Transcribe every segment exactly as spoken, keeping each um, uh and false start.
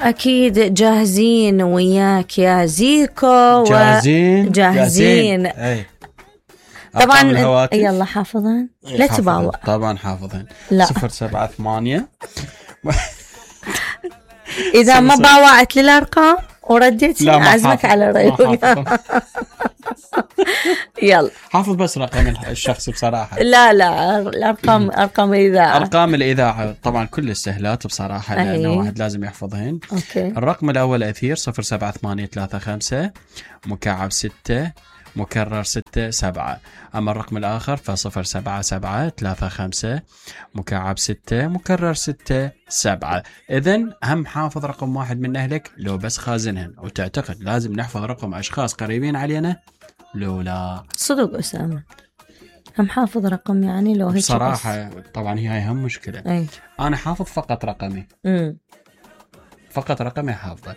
اكيد جاهزين وياك يا زيكو. جاهزين جاهزين اي طبعا. يلا حافظين لا تباوع. طبعا حافظين. صفر سبعة ثمانية اذا ما باوعت للارقام ورديت اعزمك على ريوق. يلا حافظ بس رقم الشخص بصراحة. لا لا الارقام ارقام الاذاعة. ارقام الاذاعة طبعا كل السهلات بصراحة لانه واحد لازم يحفظهن. أوكي. الرقم الاول اثير صفر سبعة ثمانية ثلاثة خمسة مكعب ستة مكرر ستة سبعة. أما الرقم الآخر فصفر سبعة سبعة ثلاثة خمسة مكعب ستة مكرر ستة سبعة. إذن هم حافظ رقم واحد من أهلك لو بس خازنهن وتعتقد لازم نحفظ رقم أشخاص قريبين علينا لو لا. صدق أسامة هم حافظ رقم يعني لو هيك صراحة بس. طبعا هي هاي هم مشكلة. أي. أنا حافظ فقط رقمي. م. فقط رقمي حافظه.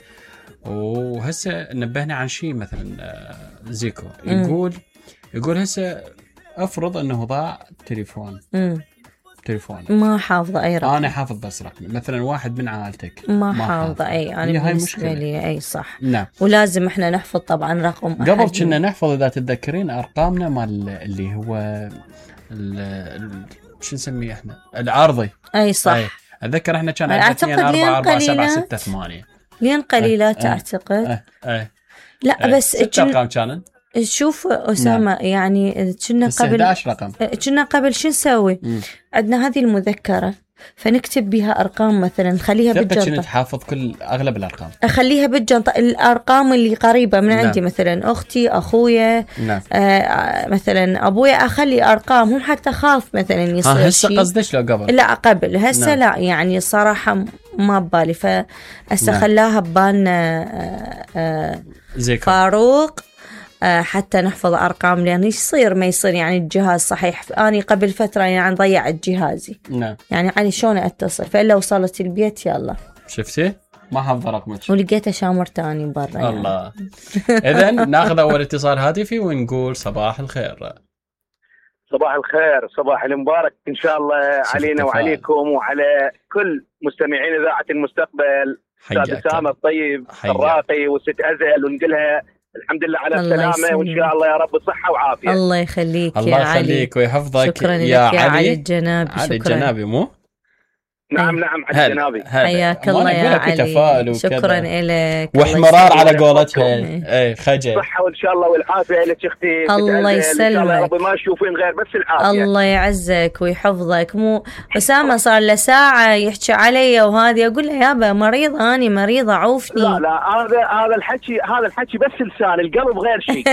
وهسه نبهنا عن شيء مثلا زيكو يقول يقول هسه افرض انه ضاع تليفون امم تليفون ما حافظه اي رقم. انا حافظ بس رقمي مثلا واحد من عائلتك ما, ما حافظه اي يعني هاي مشكله لي اي صح. نعم. ولازم احنا نحفظ طبعا رقم قبل كنا نحفظ اذا تتذكرين ارقامنا مال اللي هو شو نسميه احنا العرضي. اي صح أي. اتذكر احنا كان عندنا اثنين أربعة أربعة سبعة ستة ثمانية لين قليلات. أه. اعتقد أه. أه. لا أه. بس ست ارقام كانن. شوف أسامة. نعم. يعني كنا قبل احد عشر رقم كنا قبل شو نسوي؟ عندنا هذه المذكرة فنكتب بها أرقام مثلا نخليها بالجنطة. كنت حافظ كل أغلب الأرقام أخليها بالجنطة الأرقام اللي قريبة من عندي. نعم. مثلا أختي أخويا. نعم. آه مثلا أبويا أخلي أرقامهم حتى خاف مثلا يصير شيء. هسه قصدش لو قبل؟ لا قبل هسه. نعم. لا يعني صراحة ما ببالي فهسه. نعم. خلاها ببالنا. آه آه فاروق حتى نحفظ أرقام لأن يصير ما يصير يعني الجهاز صحيح. أنا قبل فترة يعني ضيعت جهازي. نعم. يعني علي شلون أتصل فإلا وصلت البيت يلا شفتي ما حافظ رقمك ولقيته شامر تاني برا. الله يعني. إذن ناخذ أول اتصال هاتفي ونقول صباح الخير. صباح الخير صباح المبارك إن شاء الله علينا وعليكم وعلى كل مستمعين إذاعة المستقبل. أستاذ أسامة الطيب الراقي وست أزل ونقلها الحمد لله على السلامة وإن شاء الله يا رب صحة وعافية. الله يخليك الله يا علي. الله يخليك ويحفظك. شكرا يا علي. علي الجنابي. علي الجنابي مو؟ نعم نعم علي الجنابي. حياك الله يا علي. شكرا لك. واحمرار على قولتها. اي خجل. صحة وإن شاء الله والعافية لك اختي. الله يسلمك. إن شاء الله يا رب ما تشوفين غير بس العافية. الله يعزك ويحفظك. مو أسامة صار له ساعة يحكي علي وهذه أقول له يابا مريضة أنا مريضة عوفني. لا لا هذا هذا الحكي هذا الحكي بس لسان القلب غير شيء.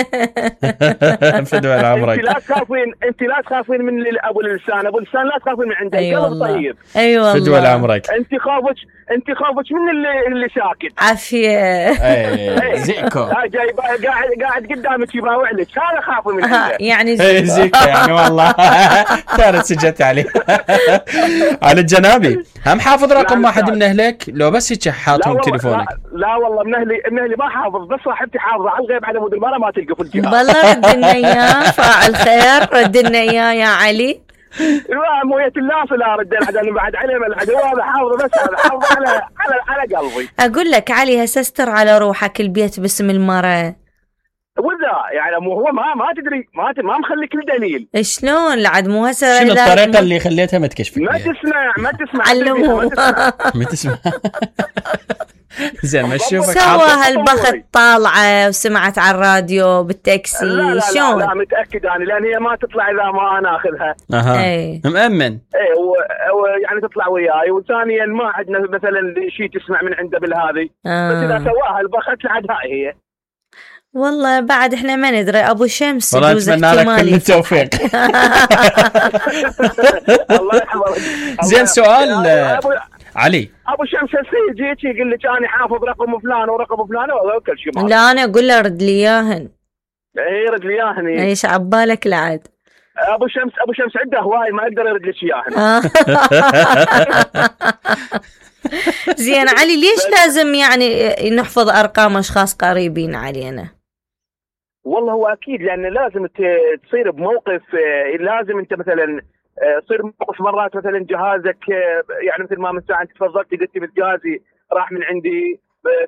فدوى عمرك. أنت لا تخافين أنت لا تخافين من أبو اللسان أبو اللسان لا تخافين من عنده. أيوة القلب طيب. أيوة فدوى عمرك. انت خافك انت خافك من اللي اللي ساكت. عافيه. اي زيكو جاي قاعد قاعد قدامك يباوع لك هذا خاف من عنده. يعني زيكو. زيكو يعني والله صارت سجلت عليه. على الجنابي هم حافظ رقم واحد من اهلك لو بس هيك حاطهم تليفونك. لا, لا والله من اهلي من اهلي ما حافظ بس صاحبتي حافظه على الغيب على مود المره ما تلقى في الجهاز. والله رد لنا اياه فاعل خير رد لنا اياه يا علي. لا مويه الناس لا رد العدل بعد علم العدو هذا حافظه بس هذا حافظه على على على قلبي. اقول لك علي هسستر على روحك البيت باسم المرة. وذا يعني مو هو ما ما تدري ما ما مخليك الدليل. شلون لعد مو هسه شنو الطريقه اللي خليتها ما تكشفك ما تسمع ما تسمع علموه ما تسمع. زين ما تشوفك سوى هالبخت طالعه وسمعت على الراديو بالتاكسي. لا لا شلون؟ لا, لا متاكد انا لان هي ما تطلع اذا ما انا اخذها. اها اي مأمن. اي ويعني تطلع وياي وثانيا ما عندنا مثلا شيء تسمع من عنده بالهذه. آه. بس اذا سواها البخت لعد هاي هي. والله بعد احنا ما ندري ابو شمس والله اتمنى لك كل التوفيق. الله يحفظك. زين سؤال علي ابو شمس السيد جيتي يقول لك انا حافظ رقم فلان ورقم فلان وكل شيء. لا انا اقول له رد لي اياهن. اي رد لي اياهن. ايش عبالك لعد ابو شمس ابو شمس عنده هواي ما يقدر يرد لك اياهن. زين علي ليش لازم يعني نحفظ ارقام اشخاص قريبين علينا؟ والله هو اكيد لان لازم تصير بموقف لازم انت مثلا تصير موقف مرات مثلا جهازك يعني مثل ما من ساعه انت تفضلتي قلتي بجهازي راح من عندي.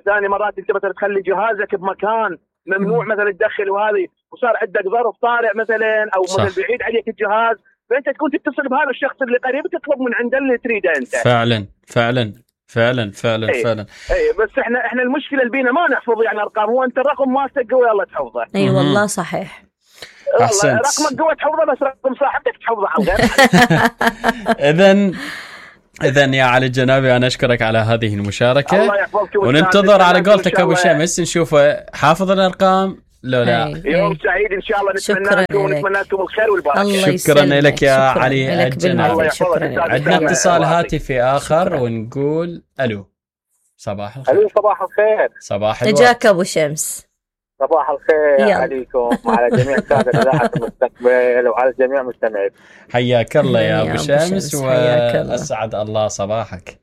ثاني مرات انت مثلا تخلي جهازك بمكان ممنوع مثلا تدخل وهذه، وصار عندك ظرف طارئ مثلا او مثلا بعيد عليك الجهاز، فانت تكون تتصل بهذا الشخص اللي قريب تطلب من عنده اللي تريده انت. فعلا فعلا فعلا فعلا أي. فعلا اي بس احنا احنا المشكله اللي بينا ما نحفظ يعني ارقام، هو انت الرقم مالتك قوي يلا تحفظه. اي أيوة والله صحيح. احسنت. رقمك قوي تحفظه بس رقم صاحبتك تحفظه على الغير. اذا اذا يا علي الجنابي انا اشكرك على هذه المشاركه، الله يحفظك وننتظر على قولتك ابو شمس نشوفه حافظ الارقام لو لا. يوم سعيد ان شاء الله، نتمنى لكم ونتمنى لكم الخير والبركه. شكرا لك يا شكرا علي الجنابي. عندنا اتصال هاتفي اخر شكرا. ونقول الو صباح الخير. الو صباح الخير. صباح الورد. اجاك ابو شمس. صباح الخير عليكم وعلى جميع سادة إذاعة المستقبل وعلى جميع مستمعين. حياك الله يا ابو شمس واسعد الله صباحك.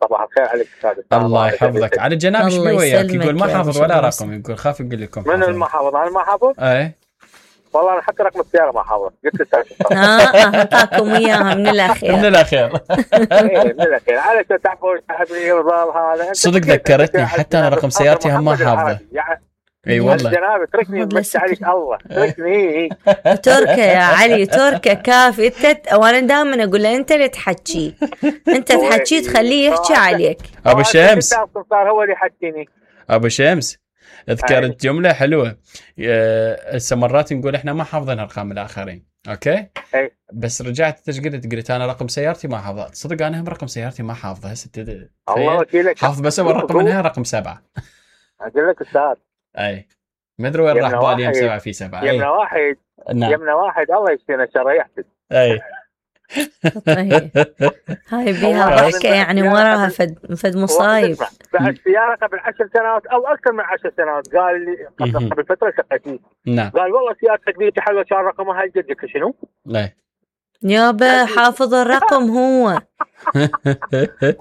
صباح الخير عليك استاذ. الله يحفظك. على الجناب ايش بي وياك؟ يقول ما حافظ ولا رقم، يقول خاف يقول لكم من اللي ما حافظ؟ انا ما حافظ؟ اي والله انا حتى رقم السياره ما حافظ. قلت استاذ اه اعطاكم اياها من الاخير. من الاخير اي من الاخير على تعرفوا تعبني وضال هذا. صدق ذكرتني حتى انا رقم سيارتي هم ما حافظه. اي والله جناب اتركني بس عليك الله اتركني. تركه يا علي تركه كافي انت، وانا دائما اقول له انت اللي تحكي، انت تحكي تخليه يحكي عليك. ابو شمس صار هو اللي يحكيني. ابو شمس ذكرت جمله حلوه هسه مرات نقول احنا ما حافظين ارقام الاخرين اوكي أي. بس رجعت انت قلت قلت انا رقم سيارتي ما حافظه. صدق انا هم رقم سيارتي ما حافظه هسه الله وكيلك حافظ بس اول رقم منها رقم سبعه. اقول لك استاذ اي ما ادري وين راح بالي يوم سبعة في سبعة. يمنا واحد نعم. يمنا واحد الله يشفينا شر يحسد. اي هاي بيها ضحكه يعني وراها فد فد مصايب. بعد سياره قبل عشر سنوات او اكثر من عشر سنوات قال لي قبل قبل فتره شقتني نعم قال والله سيارتك ذي حلوه كان رقمها هل جدك شنو؟ لا يابا حافظ الرقم هو.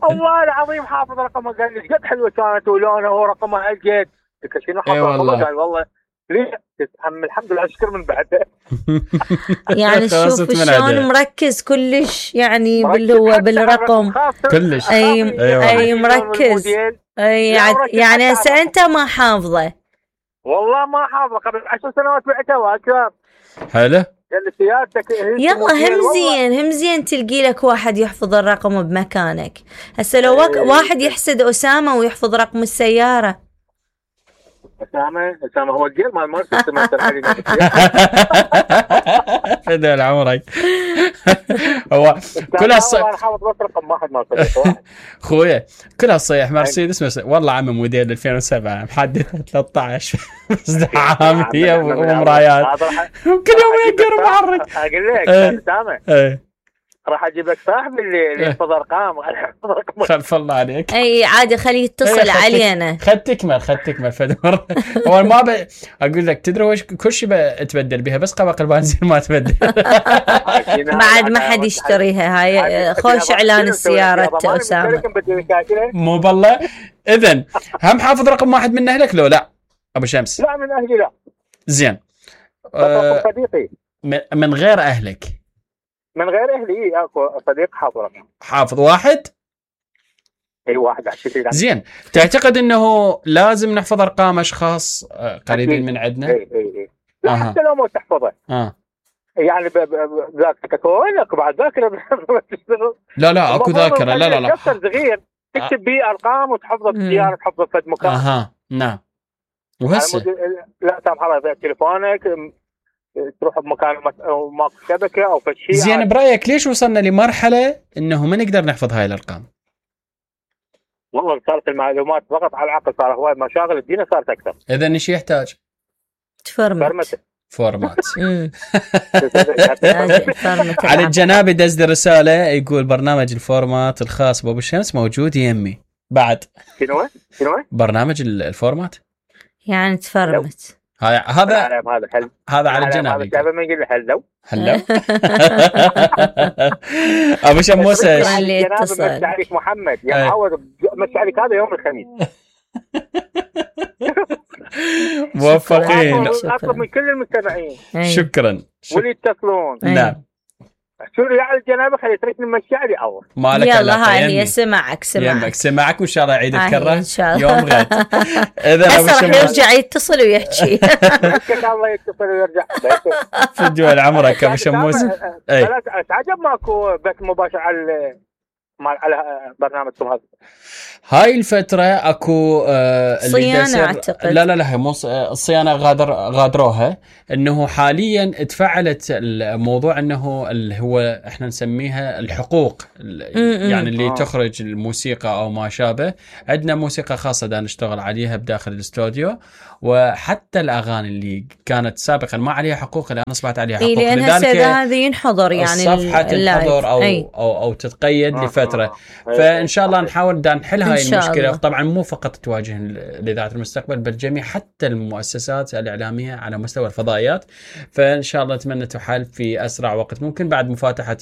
والله العظيم حافظ رقمها قال لي قد حلوه كانت ولونها هو رقمها هل جد شنو حافظ رقمها؟ قال والله ليه تتحمل الحمد لله اشكر من بعده. يعني شوف شلون مركز كلش يعني بالهو بالرقم كلش. اي اي مركز اي يعني هسه انت ما حافظه. والله ما حافظه قبل عشر سنوات بعتها واكثر. حلو يلا هم زين هم زين تلقي لك واحد يحفظ الرقم بمكانك. هسه لو واحد يحسد أسامة ويحفظ رقم السيارة. أسامة أسامة هو الجيل مال مرسيدس مثل علينا. فدال عمرك. هو كل هالصيح أنا حافظ بس رقم واحد مرسيدس واحد. خويا كل هالصيح مرسيدس بس والله عم موديل ألفين وسبعة محدث ثلاثة عشر ازدحامية ومرايات كل يوم يقر محرك. أقول لك أسامة راح اجيب لك صاحب اللي يحفظ ارقام. خلف الله عليك. اي عادي خليه يتصل علينا. خد تكمل خد تكمل فدمر. هو ما ب... اقول لك تدري وش كل شيء بتبدل بها بس قبق البنزين ما تبدل. بعد ما حد يشتريها هاي خوش اعلان السيارة أسامة. مو بالله. اذن هم حافظ رقم واحد من اهلك لو لا ابو شمس؟ لا من اهلي لا. زين أه صديقي من غير اهلك؟ من غير اهلي اكو صديق حافظ رقم. حافظ واحد؟ اي واحد عشرين. زين تعتقد انه لازم نحفظ ارقام اشخاص قريبين من عندنا؟ اي اي اي لا آه. حتى لو ما تحفظه اه يعني ذاكرتك تكون اكو بعد ذاكره تشتغل. لا لا اكو ذاكره لا لا لا دفتر صغير تكتب به ارقام وتحفظه بالسياره تحفظه في مكان. اها نعم. وهسه لا سامح الله اذا تليفونك تروح بمكان ماكو شبكه او فشي. زين برايك ليش وصلنا لمرحله انه ما نقدر نحفظ هاي الارقام؟ والله صارت المعلومات فقط على العقل، صار هواي مشاغل الدنيا صارت اكثر. اذا ايش يحتاج؟ تفرمت فورمات. على الجناب دز رساله يقول برنامج الفورمات الخاص بابو الشمس موجود يمي بعد. شنو شنو برنامج الفورمات يعني تفرمت. هذا هذا هذا حل هذا على الجناب. هذا ما يقول حلو حلو. ابو شموسه مسي عليك محمد يا معود مسي عليك هذا يوم الخميس. موفقين. اطلب من كل المستمعين شكرا واللي يتصلون نعم شو يعني الجنابه خلي تركني مشاري اول مالك. يلا هاي هي سمعك سمعك سمعك وان شاء الله يعيد الكره ان شاء الله يوم غد. اذا راح يرجع يتصل ويحكي الله يتصل ويرجع في الدول عمرك ابو شموس. اي تعجب ماكو بث مباشر على على برنامجكم هذا. هاي الفترة اكو آه صيانة اعتقد. لا لا لا مو الصيانة غادر غادروها، انه حاليا تفعلت الموضوع انه اللي هو احنا نسميها الحقوق يعني اللي آه. تخرج الموسيقى او ما شابه. عندنا موسيقى خاصة دا نشتغل عليها بداخل الاستوديو، وحتى الاغاني اللي كانت سابقا ما عليها حقوق الان اصبحت عليها حقوق. إيه لذلك هذه ينحضر يعني الصفحة تنحضر او أي. او او تتقيد آه لفترة آه. فان شاء الله نحاول دا نحل هاي المشكلة. طبعا مو فقط تواجه لإذاعة المستقبل بل جميع حتى المؤسسات الإعلامية على مستوى الفضائيات. فإن شاء الله نتمنى تحل في أسرع وقت ممكن بعد مفاتحة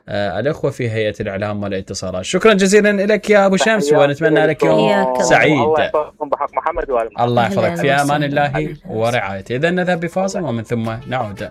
آه الأخوة في هيئة الإعلام والاتصالات. شكرا جزيلا لك يا أبو شمس ونتمنى لك يوم سعيد. الله يحفظكم بحق محمد والمحمد. الله يحفظك في أمان الله ورعايته. إذا نذهب بفاصل ومن ثم نعود.